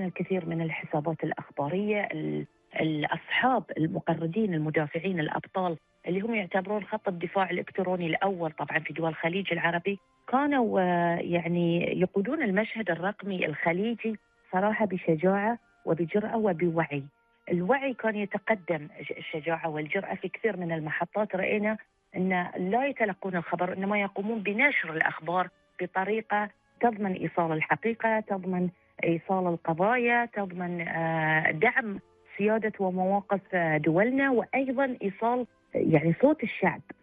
الكثير من الحسابات الأخبارية. الأصحاب المقردين المدافعين الأبطال اللي هم يعتبرون خط الدفاع الإلكتروني الأول طبعا في دول الخليج العربي، كانوا يعني يقودون المشهد الرقمي الخليجي صراحة بشجاعة وبجرأة وبوعي. الوعي كان يتقدم الشجاعة والجرأة في كثير من المحطات. رأينا أن لا يتلقون الخبر، إنما يقومون بنشر الأخبار بطريقة تضمن إيصال الحقيقة، تضمن إيصال القضايا، تضمن دعم سيادة ومواقف دولنا، وأيضا إيصال يعني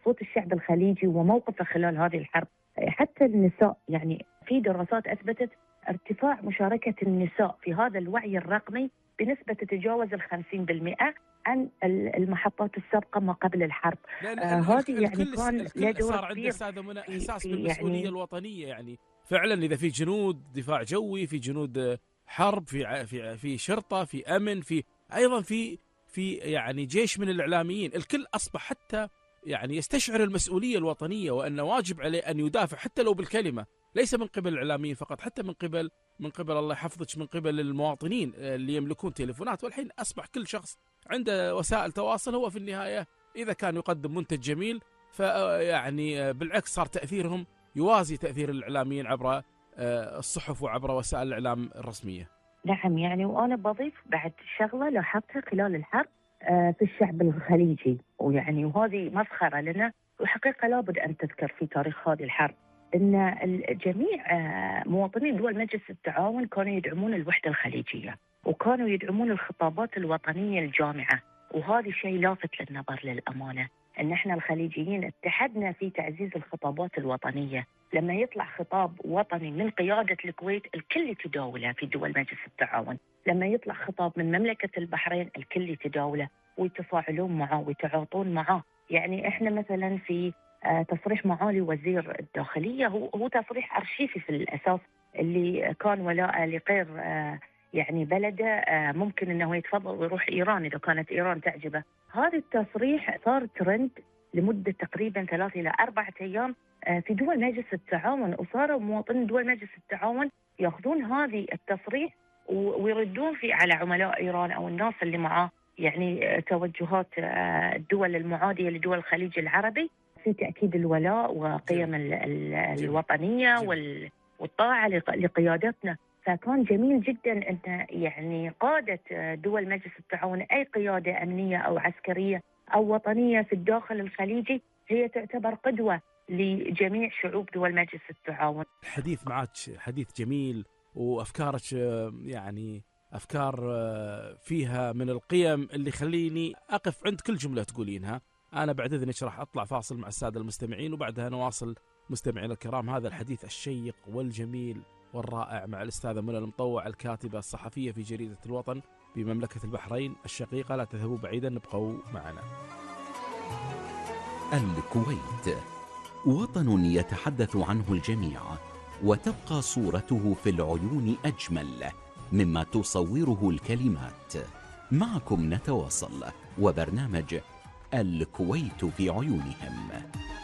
صوت الشعب الخليجي وموقفه خلال هذه الحرب. حتى النساء، يعني في دراسات أثبتت ارتفاع مشاركة النساء في هذا الوعي الرقمي بنسبة تتجاوز 50% عن المحطات السابقة ما قبل الحرب. هذه يعني كان الكل صار عنده أستاذة منى إحساس بالمسؤولية يعني الوطنية. يعني فعلا إذا في جنود دفاع جوي، في جنود حرب، في شرطة، في أمن، في أيضا في يعني جيش من الإعلاميين، الكل أصبح حتى يعني يستشعر المسؤولية الوطنية، وأن واجب عليه أن يدافع حتى لو بالكلمة، ليس من قبل الإعلاميين فقط، حتى من قبل الله يحفظك من قبل المواطنين اللي يملكون تليفونات. والحين أصبح كل شخص عنده وسائل تواصل، هو في النهاية إذا كان يقدم منتج جميل فيعني بالعكس صار تأثيرهم يوازي تأثير الإعلاميين عبر الصحف وعبر وسائل الإعلام الرسمية. نعم، يعني وأنا بضيف بعد شغلة لاحظتها خلال الحرب في الشعب الخليجي، وهذه مسخرة لنا، وحقيقة لابد أن تذكر في تاريخ هذه الحرب، أن جميع مواطنين دول مجلس التعاون كانوا يدعمون الوحدة الخليجية، وكانوا يدعمون الخطابات الوطنية الجامعة. وهذا شيء لافت للنظر للأمانة، أن احنا الخليجيين اتحدنا في تعزيز الخطابات الوطنية. لما يطلع خطاب وطني من قيادة الكويت الكل يتداوله في دول مجلس التعاون، لما يطلع خطاب من مملكة البحرين الكل يتداوله ويتفاعلون معه ويتعاطون معه. يعني احنا مثلا في تصريح معالي وزير الداخلية هو تصريح أرشيفي في الأساس، اللي كان ولاء لغير يعني بلده ممكن أنه يتفضل ويروح إيران إذا كانت إيران تعجبه. هذا التصريح صار ترند لمدة تقريبا 3 إلى 4 أيام في دول مجلس التعاون، وصاروا مواطنين دول مجلس التعاون يأخذون هذه التصريح ويردون فيه على عملاء إيران أو الناس اللي معاه، يعني توجهات الدول المعادية لدول الخليج العربي في تأكيد الولاء وقيم الوطنية والطاعة لقيادتنا. فكان جميل جدا أن يعني قادة دول مجلس التعاون، أي قيادة أمنية أو عسكرية أو وطنية في الداخل الخليجي، هي تعتبر قدوة لجميع شعوب دول مجلس التعاون. الحديث معك حديث جميل، وأفكارك يعني أفكار فيها من القيم اللي خليني أقف عند كل جملة تقولينها. أنا بعد إذنك راح أطلع فاصل مع السادة المستمعين، وبعدها نواصل مستمعين الكرام هذا الحديث الشيق والجميل والرائع مع الأستاذة منى المطوع، الكاتبة الصحفية في جريدة الوطن بمملكة البحرين الشقيقة. لا تذهبوا بعيدا، نبقوا معنا. الكويت وطن يتحدث عنه الجميع، وتبقى صورته في العيون أجمل مما تصوره الكلمات. معكم نتواصل، وبرنامج الكويت في عيونهم.